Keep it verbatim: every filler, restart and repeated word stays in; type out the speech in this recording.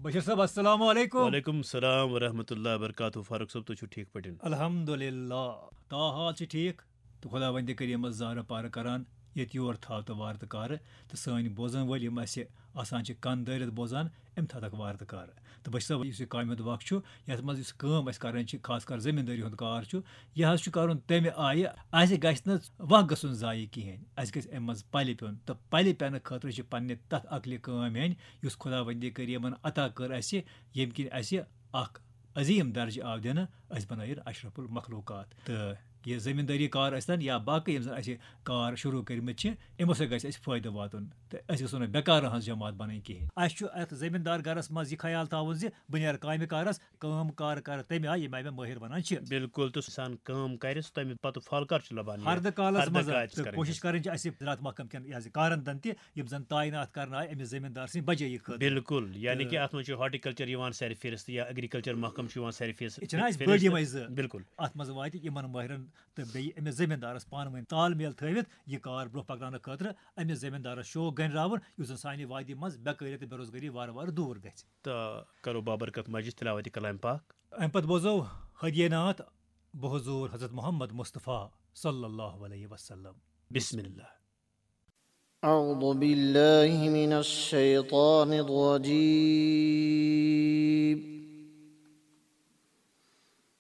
بشیر صٲب، السلام علیکم۔ وعلیکم السلام ورحمۃ اللہ وبرکاتہ۔ فاروق صٲب، تُہۍ چھِو ٹھیٖک پٲٹھۍ؟ الحمدللہ، تا حال چھِ ٹھیٖک؟ تہٕ خۄداوندِ کریٖمس زارٕ پارٕ کران، ییٚتہِ یور تھاو تہٕ وارٕ تہٕ کارٕ، تہٕ سٲنۍ بوزن وٲلۍ یِم اَسہِ آسان چھِ کَن دٲرِتھ بوزان، أمۍ تھاو تَکھ وارٕ تہٕ کارٕ۔ تہٕ بہٕ چھُس یُس یہِ کامہِ ہُنٛد وقت چھُ، یَتھ منٛز یُس کٲم اَسہِ کَرٕنۍ چھِ، خاص کر زٔمیٖندٲری ہُنٛد کار چھُ، یہِ حظ چھُ کَرُن تَمہِ آیہِ، اَسہِ گژھِ نہٕ وق گژھُن ضایع کِہیٖنۍ، اَسہِ گژھِ اَمہِ منٛز پَلہِ پیوٚن، تہٕ پَلہِ پٮ۪نہٕ خٲطرٕ چھِ پنٛنہِ تَتھ عقلہِ کٲم ہیٚنۍ، یُس خۄداوندِ کریٖمن عطا کٔر اَسہِ، ییٚمہِ کِنۍ اَسہِ اکھ عظیٖم درجہٕ آو دِنہٕ، أسۍ بنٲیِن اشرف المخلوقات۔ تہٕ یہِ زٔمیٖندٲری کار ٲسۍتن یا باقٕے یِم زن اَسہِ کار شروٗع کٔرمٕتۍ چھِ، یِمو سۭتۍ گژھِ اَسہِ فٲیدٕ واتُن تہٕ أسۍ گژھو نہٕ بیکارن ہٕنٛز جماعت بنٕنۍ کِہیٖنۍ۔ اَسہِ چھُ اَتھ زٔمیٖندار گرس منٛز یہِ خیال تھاوُن زِ بہٕ نیرٕ کامہِ کارس، کٲم کار کرٕ تَمہِ آیہِ ییٚمہِ آیہِ مےٚ مٲہِر ونان چھِ۔ بالکل، تہٕ انسان کٲم کرِ، سُہ تَمہِ پتہٕ پھل کر چھُ لبان؟ ہردٕ کالس ہردٕ منٛز کالہِ چھِ تہٕ کرٕنۍ کوٗشِش حظ۔ کرٕنۍ چھِ اَسہِ زراعت محکمہٕ کٮ۪ن یہِ حظ یہِ کارن دن تہِ، یِم زن تعینات کرنہٕ آیہِ أمِس زٔمیٖندار سٕنٛدِ بجٲیی خٲطرٕ۔ بالکل، یعنی کہِ اتھ منٛز چھُ ہارٹیکلچر یِوان سرِ فہرست یا ایگریکلچر محکمہٕ چھُ یِوان سرِ فہرست۔ یہِ چھِنہ اَسہِ فہرست۔ بٔڑۍ یِمے زٕ۔ بالکل۔ اتھ منٛز واتہِ یِمن مٲہرن تہٕ بیٚیہِ أمِس زٔمیٖندارس پانہٕ ؤنۍ تال میل تھٲوِتھ یہِ کار برٛونٛہہ پکناونہٕ خٲطرٕ، أمِس زٔمیٖندارس شوق گنڈراوُن، یُس زن سانہِ وادی منٛز بیکٲری تہٕ بے روزگٲری وارٕ وارٕ دوٗر گژھِ۔ تہٕ کرو بابرکت مجلس تلاوت کلام پاک۔ امہِ پتہٕ بوزو ہدیہ ناتھ بحضور حضرت محمد مصطفیٰ صلی اللہ علیہ وسلم۔ بسم اللہ۔ أعوذ بالله من الشيطان الرجيم.